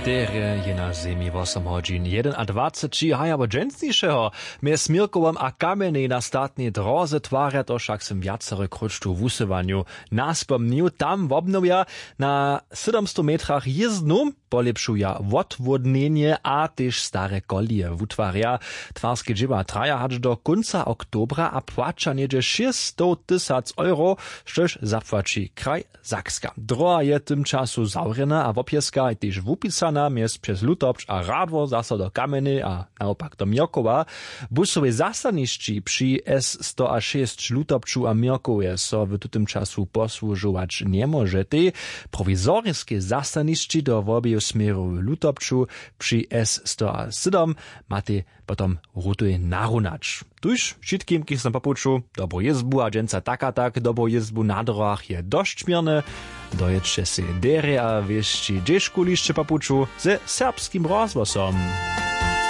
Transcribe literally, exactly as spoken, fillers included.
Derje je na zemi wosom hodźin jedynadwaceći, haja wot dźensnišeho. Mjez Měrkowom a Kamjenjej na statnej dróze twarja to wšak sym wjacore króć tu w wusyłanju naspomnił. Tam wobnowja na sydomstow metrach jězdnu, polěpšuja wotwódnjenje a tež stare kolije wutwarja. Twarske dźěła traja hač do kónca oktobra a płaća něhdźe šěsćstow tysac euro, štož zapłaći kraj Sakska. Dróha je w tym času zawrjena a wobpjeska je tež wupisana mjez přez Lutopć a Radwor zaso do Kamjenjej a nawopak do Měrkowa. Busowej zastanišći při S sto a šěsć Lutopću a Měrkowje so w tutym času posłužować njemóžetej. Prowizoriske zastanišći do wobeju směrow w Lutopću při S sto a sydom matej potom rutuj narunać. Tuž wšitkim, kiž są po puću, dobru jězbu a dźensa tak a tak dobru jězbu. Na dróhach je dosć měrne. Dojědće sej derje a wěsći dźežkulišće po puću ze Serbskim rozhłosom.